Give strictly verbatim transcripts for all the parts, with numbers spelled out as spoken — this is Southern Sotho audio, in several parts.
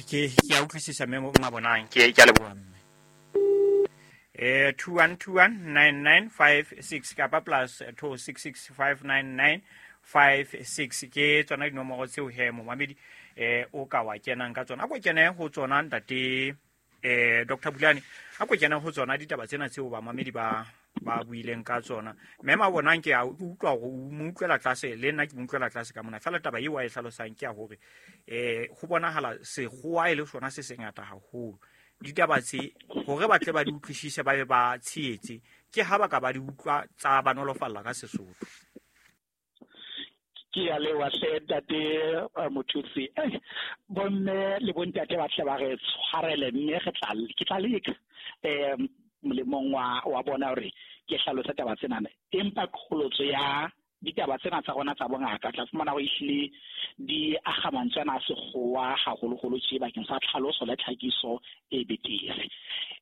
Ke ke a utlwisisa mme Mabonang, ke ke a leboha mme. Eh two one two one nine nine five six kapa plus two six six five nine nine five six ke tsona dinomoro tseo he momamedi eh o ka wa kenang ka tsona. A ko kene ho tsona ntate eh Doctor Bulane, a ko kene ho tsona ditaba tsena tseo bamamedi ba ba buileng ka tsona. Mme Mabonang ke a utlwa hore o mo utlwela tlase, le nna ke mo utlwela tlase ka mona. Feela taba eo a e hlalosang ke ya hore eh ho bonahala sekgowa e le sona se sengata haholo. Ditaba tse hore ba tle ba di utlwisise ba be ba tshehetse ke ha ba ka ba di utlwa tsa ba nolofalla ka Sesotho. Ke a leboha hle ntate Mothusi. Eh bomme le bontate ba tle ba re tshwarele mme re tla ke tla leka eh molemong wa wa bona hore ke hlalose taba tsena. Empa qholotso ya ditaba tsena tsa rona tsa bongaka tla fumana hore ehlile di akga mantswe ana a sekgowa haholoholo tje bakeng sa tlhaloso le tlhakiso e betere.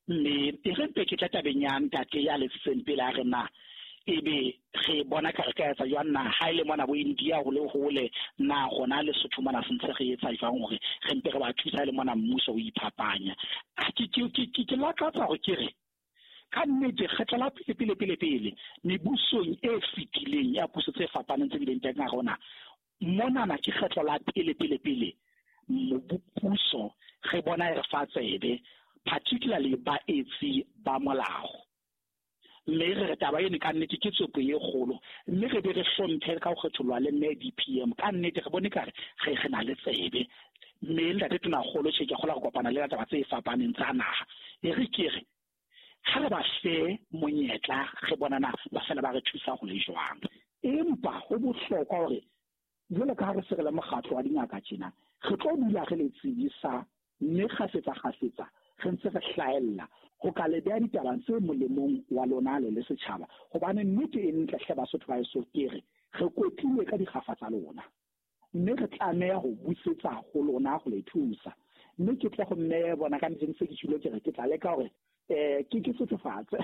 Mme e re mpe ke tla tabeng ya ntate ya letsitseng pele a re na ebe re bona ka re ka etsa jwang na ha ile mona bo India ho le hole na rona Lesotho mona se ntse re etsa jwang hore re mpe re ba thusa le mona mmuso o iphapanya. Ke ke ke ke lakatsa hore ke re ka nnete kgetlo la pele pele pele pele mebusong e fetileng ya puso tse fapaneng tse bileng teng ha rona monana ke kgetlo la pele pele pele puso re bona e re fa tsebe particularly baetsi ba molao. Mme re re taba eno ka nnete ke tsopo e kgolo mme re be re hlomphe ka ho kgetholwa le mme D P M ka nnete re bone kare re re na le tsebe mme ntate Tonakgolo tjhe ke kgola go kopana le taba tse fapaneng tsa naha e re ke re ha re ba fe monyetla re bonana ba fela ba re thusa go le jwang. Empa ho bohlokwa hore jwalo ka ha re se re le mokgatlo wa dingaka tjena re tlo dula re le tsebisa mme kgafetsa kgafetsa re ntse re hlaella ho ka le beha ditabeng tse molemong wa lona le le setjhaba hobane nnete e ntle hle Basotho ba eso ke re re kwetlilwe ka dikgafa tsa lona mme re tlameha ho busetsa ho lona ho le thusa. Mme ke tle ho mme bona ka ntse ke tshilo ke re ke tla leka hore eh ke ke sothofatse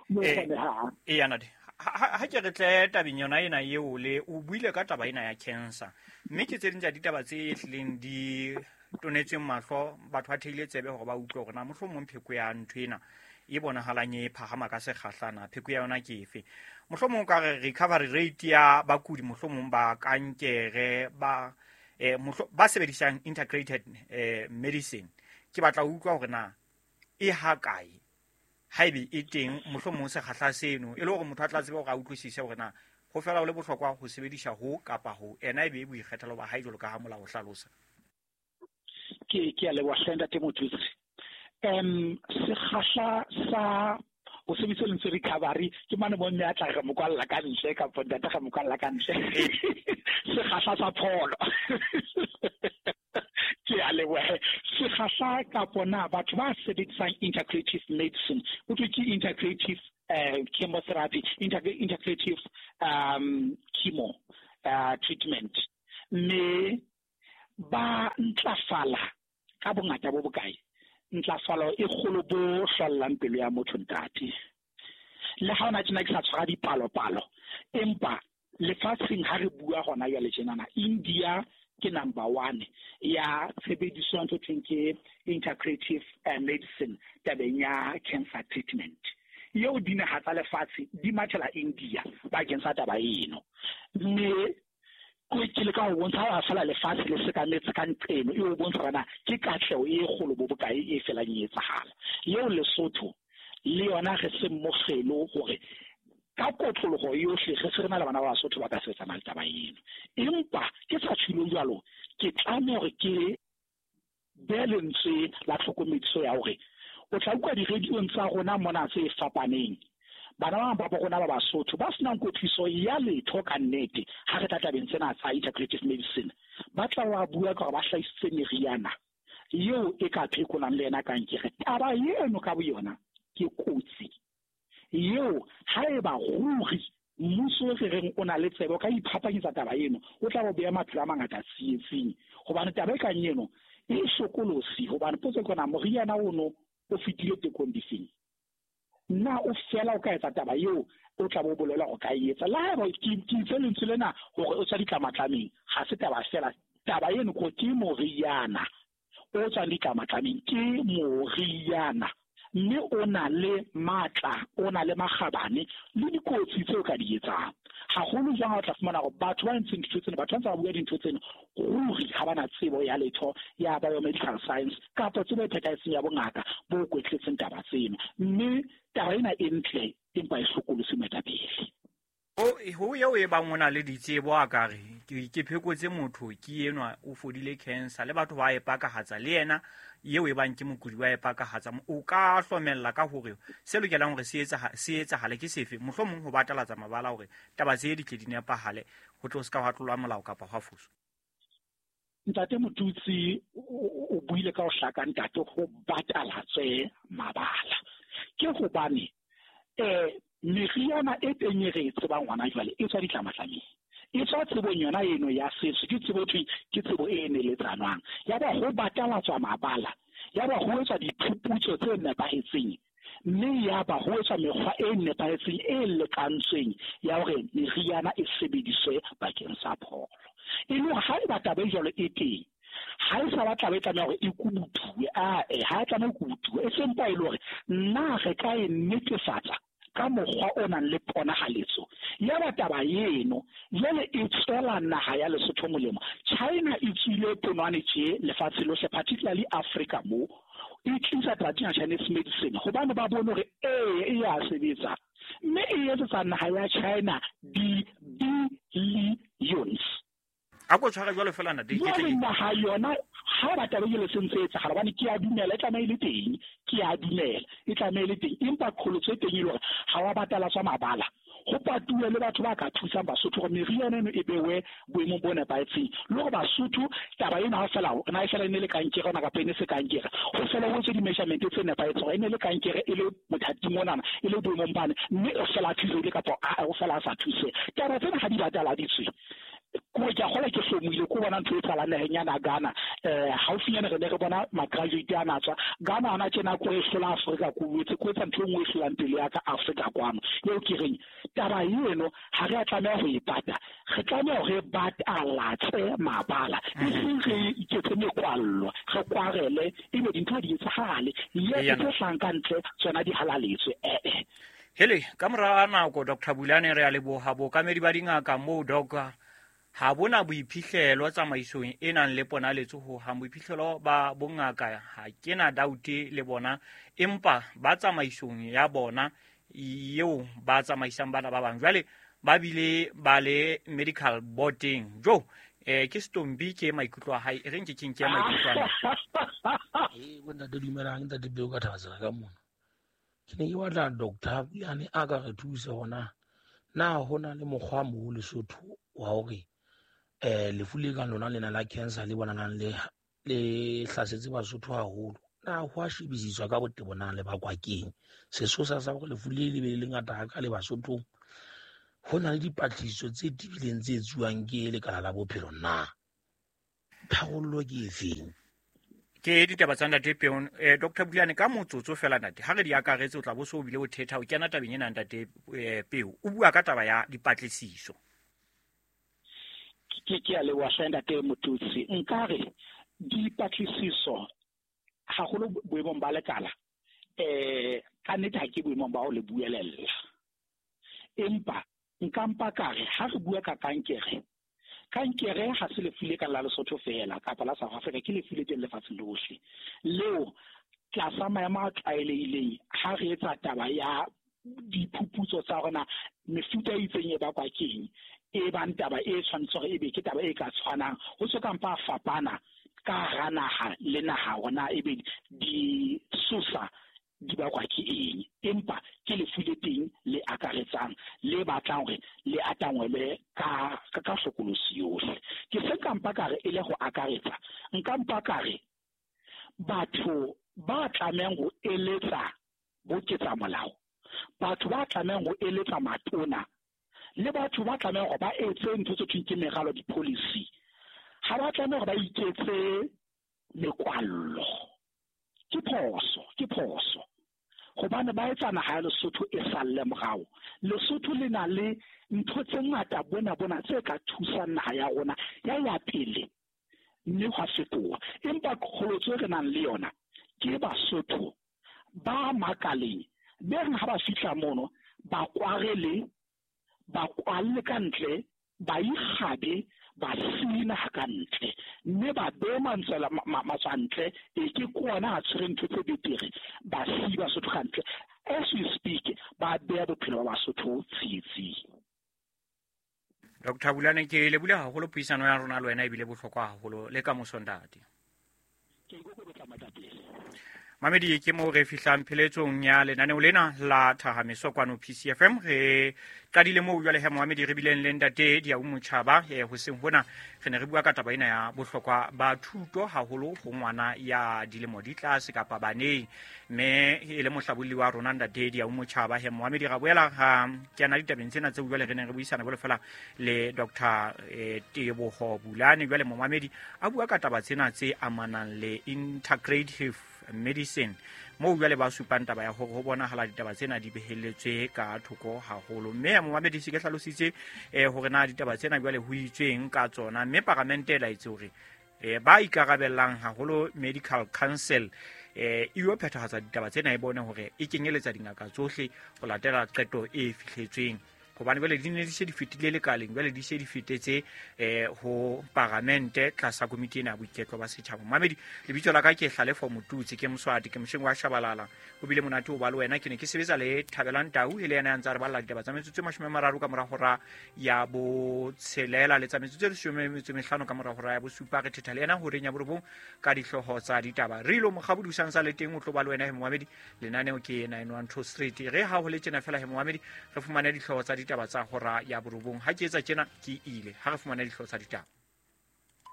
mo kgonehang. Eh nate ha ke re tle tabeng yona ena eo le o buile ka taba ena ya cancer mme ke tse ding tsa ditaba tse hlileng di tonetseng mahlo batho ba theile tsebe hore ba utlwe hore na mohlomong pheko ya ntho ena e bonahalang e phahama ka sekgahlana pheko ya yona ke efe. Mohlomong ka re recovery rate ya bakudi mohlomong ba kankere ba eh ba sebedisang integrated eh medicine ke batla ho utlwa hore na e ha kae haebe e teng mohlomong sekgahla seno e le hore motho a tla tsebe hore a utlwisise hore na ho fela ho le bohlokwa ho sebedisa ho kapa ho ena ebe e boikgethelo ba hae jwalo ka ha molao o hlalosa. Ke ke a leboha hle ntate Mothusi. Em sekgahla sa o sebedisa lentswe recovery ke mane bomme a tla re mokwalla ka ntle kapa ntate re mokwalla ka ntle sekgahla sa pholo ke a leboha. Sekgahla kapo na batho ba sebedisang integrative medicine ho thwe ke integrative uh, chemotherapy integrative um chemo uh, treatment mme ba ntlafala ka bongata bo bokae ntlafalo e kgolo bo hlollang pelo ya motho ntate. Le ha ona tjena ke sa tshwara dipalopalo empa lefatsheng ha re bua hona jwale tjenana India ke number one ya tshebediso ya ntho thweng ke integrative medicine tabeng ya cancer treatment eo dinaha tsa lefatshe di mathela India bakeng sa taba eno. Mme ke le ka ho bontsha ha fela lefatshe le sekametse ka nqeno e o bontsha hore na ke katleho e kgolo bo bokae e felang e etsahala. Eo Lesotho le yona re se mokgelo hore ka kotloloho yohle re se re na le bana ba Basotho ba ka sebetsana le taba eno. Empa ke sa tshilo jwalo ke tlameha hore ke behe lentswe la tlhokomediso ya hore o tla utlwa di-radio-ong tsa rona mona tse fapaneng bana ba bang ba rona ba Basotho ba senang kwetliso ya letho ka nnete ha re tla tabeng tsena tsa integrative medicine ba tla wa bua ka hore ba hlahisitse meriana eo e ka phekolang le yena kankere. Taba eno ka boyona ke kotsi eo haeba ruri mmuso re reng o na le tsebo ka iphapanyetsa taba eno o tla bo beha maphelo a mangata tsietsing hobane taba e kang eno e hlokolosi hobane potso ke yona moriana ono o fetile tekong difeng na o fela o ka etsa taba eo o tla bo bolela go ka etsa la haeba ke itse lentswe lena hore o tswa ditlamatlameng ha se taba fela taba eno ko ke moriana o tswang ditlamatlameng ke moriana, mme o na le matla, o na le makgabane le dikotsi tseo ka di etsang. Haholo jwang ha o tla fumana hore batho ba entseng dintho tsena, batho ba ntse ba bua dintho tsena, ruri ha ba na tsebo ya letho ya biomedical science kapa tsebo e phethahetseng ya bongaka bo kwetletseng taba tseno. Mme taba ena e ntle empa e hlokolosi moetapele. Ho eo e bang o na le ditsebo a ka re ke phekotse motho ke enwa o fodile cancer le batho ba e pakahatsa le yena eo e bang ke mokudi wa e pakahatsa, o ka hlomella ka hore se lokelang hore se etsa se etsahale ke sefe, mohlomong ho batalatsa mabala hore taba tse di tle di nepahale ho tlo se ka hwa tlolwa molao kapa hwa foswa. Ntate Motutsi o buile ka ho hlaka ntate ho batalatswe mabala. Ke hobane eh meriana e teng e re e tsebang hona jwale e tswa ditlamatlameng, e tswa tsebong yona eno ya setso, ke tsebo thwe ke tsebo e neletsanwang. Ya ba ho batalatswa mabala, ya ba ho etswa diphuputso tse nepahetseng, mme ya ba ho etswa mekgwa e nepahetseng e lekantsweng ya hore meriana e sebediswe bakeng sa pholo. E le hore ha eba taba e jwalo e teng, ha e sa batla e tlameha hore e kubutuwe, ae ha e tlameha ho kubutuwe, e sempa e le hore nna re ka e netefatsa ka mokgwa o nang le ponahaletso. Ya ba taba eno jwale e tswela naha ya Lesotho molemo. China e tswile ponwane tje lefatshe lohle, particularly Africa mo e tlisa traditional Chinese medicine hobane ba bone hore ee e ya sebetsa, mme e etsetsa naha ya China di-billions. A ko tshwara jwalo fela ntate, ke tle naha yona ha ba taba ele se ntse etsagala hobane ke a dumela e tlameha e le teng, ke a dumela e tlameha e le teng, empa qholotso e teng e le hore ha wa batalatswa mabala, ho patuwe le batho ba ka thusang Basotho hore meriana eno e bewe boemong bo nepahetseng, le hore Basotho taba ena ha fela na e fela e ne le kankere ona kapa e ne se kankere, ho fela ho etswe di-measurement tse nepahetseng hore e ne le kankere e le mothating onana e le boemong bane, mme o fela a thusehile kapa o fela a sa thuse. Taba tsena ha di bataladitswe, ko ke a kgola ke hlomohile ko bona ntho e etsahalang naheng yana Ghana. Eh haufinyane re ne re bona ma-graduate a na tswa Ghana hona tjena ko e hlola Afrika, ko boetse ko etsa ntho e nngwe e hlolang pele ya ka Afrika kwano. Eo ke reng taba eno ha re a tlameha ho e pata, re tlameha hore re batalatse mabala, e seng re iketse mekwallo, re kwarele ebe dintho ha di etsahale, le tse hlahang ka ntle tsona di halaletswe. Eh Hele ka mora nako Doctor Bulane re a leboha bookamedi ba dingaka moo doc ha bona boiphihlelo tsamaisong e nang le ponaletso ho hang. Boiphihlelo ba bongaka ha ke na doubt le bona, empa ba tsamaisong ya bona eo ba tsamaisang bana ba bang jwale ba bile ba le medical boarding jo eh ke Stombi ke maikutlo a hae, e reng ke keng ke maikutlo ana. Eh bona ntate dumelang, ntate Peo ka thaba ka mona. Ke ne ke batla doctor Bulane a ka re thusa hona na hona le mokgwa mo Lesotho wa hore eh lefu le kang lona lena la cancer le bonalang le le hlasetse Basotho haholo, na ho a shebisiswa ka botebo na le bakwa keng sesosa sa hore lefu le le be le ngata haka le Basothong? Ho na le dipatlisiso tse tebileng tse etsuwang ke lekala la bophelo na? Tharollo ke efeng? Ke ditaba tsa ntate Peo. Eh Doctor Bulane ka motsotso fela ntate, ha re di akaretse o tla bo so o bile o thetha o kena tabeng ena ntate Peo o bua ka taba ya dipatlisiso. Ke ke a leboha hle ntate Motutsi. Nkare dipatlisiso haholo boemong ba lekala eh ka nnete ha ke boemong ba ho le buelella, empa nka mpa ka re ha re bua ka kankere, kankere ha se lefu le ka la Lesotho fela kapa la South Africa, ke lefu le teng lefatsheng lohle leo tlasa maemo a tlwaelehileng ha re etsa taba ya diphuputso tsa rona mefuta e itseng e bakwa keng, e bang taba e tshwanetse hore ebe ke taba e ka tshwanang ho so ka mpa fapana ka hara naha le naha hona ebe disosa di bakwa ke eng, empa ke lefu le teng le akaretsang le batlang hore le atangwele ka ka hlokolosi yohle. Ke se ka mpa ka re e le ho akaretsa, nka mpa ka re batho ba tlamehang ho eletsa boketsa molao, batho ba tlamehang ho eletsa matona le batho ba tlamehang hore ba etse ntho tse thweng ke meralo di-policy, ha ba tlameha hore ba iketse mekwallo. Ke phoso, ke phoso hobane ba etsa naha ya Lesotho e salle morao. Lesotho le na le ntho tse ngata bona bona tse ka thusang naha ya rona ya ya pele. mme hwa fetoha. Empa qholotso e re nang le yona ke Basotho ba makaleng be reng ha ba fihla mono ba kwarele, ba kwalle ka ntle, ba ikgabe, ba sina ka ntle, mme ba be mantswela matswantle e ke kona a tshwere ntho tse betere, ba si Basotho ka ntle. As we speak, ba beha bophelo ba Basotho tsietsing. Doctor Bulane, ke lebule haholo puisano ya rona le wena, ebile bohlokwa haholo le ka moso ntate. Ke ikokobetsa matapele. Mamedi, ke mo re fihlang pheletsong ya lenaneo lena la Thahameso kwano P C F M. Re qadile moo jwale he Mohamedi re bileng le ntate Diau Motjhaba eh, hoseng hona re ne re bua ka taba ena ya bohlokwa ba thuto haholo ho ngwana ya dilemo di tlase kapa baneng, mme e le mohlabolli wa rona ntate Diau Motjhaba. He Mohamedi, ra boela ha kena ditabeng tsena tseo jwale re neng re buisana jwale fela le Doctor eh, Teboho Bulane. Jwale Mohamedi a bua ka taba tsena tse amanang le integrative medicine, moo jwale ba supang taba ya hore ho bonahala ditaba tsena di behelletswe ka thoko haholo. Mme Mohamedi se ke hlalositse eh, hore na ditaba tsena jwale ho itsweng ka tsona, mme paramente e laetse hore eh, ba ikarabellang haholo Medical Council eh, e yo phethahatsa ditaba tsena, e bone hore e kenyeletsa dingaka tsohle ho latela qeto e fihletsweng, hobane jwale di ne di se di fetile lekaleng, jwale di se di fetetse eh, ho paramente tlasa komiti ena ya boiketlo ba setjhaba. Mamedi, lebitso la ka ke Hlalefo Motutsi, ke Moswati, ke mosheng wa Shabalala. Ho bile monate ho ba le wena. Ke ne ke sebetsa le Thabelang Tau, e le yena ya ntsa re balla ditaba tsa metsotso e mashome a mararo ka mora hora ya botshelela le tsa metsotso e leshome metso e mehlano ka mora hora ya bosupa. Re thetha le yena horeng ya borobong ka dihlooho tsa ditaba. Re ilo mokgabodi o sa le teng, o tlo ba le wena he Mohamedi. Lenaneo ke nine one two Street. Re ha ho le tjena fela he Mohamedi, re fumane dihlooho tsa ditaba tsa hora ya borobong. Ha ke etsa tjena ke ile, ha re fumane dihlooho tsa ditaba.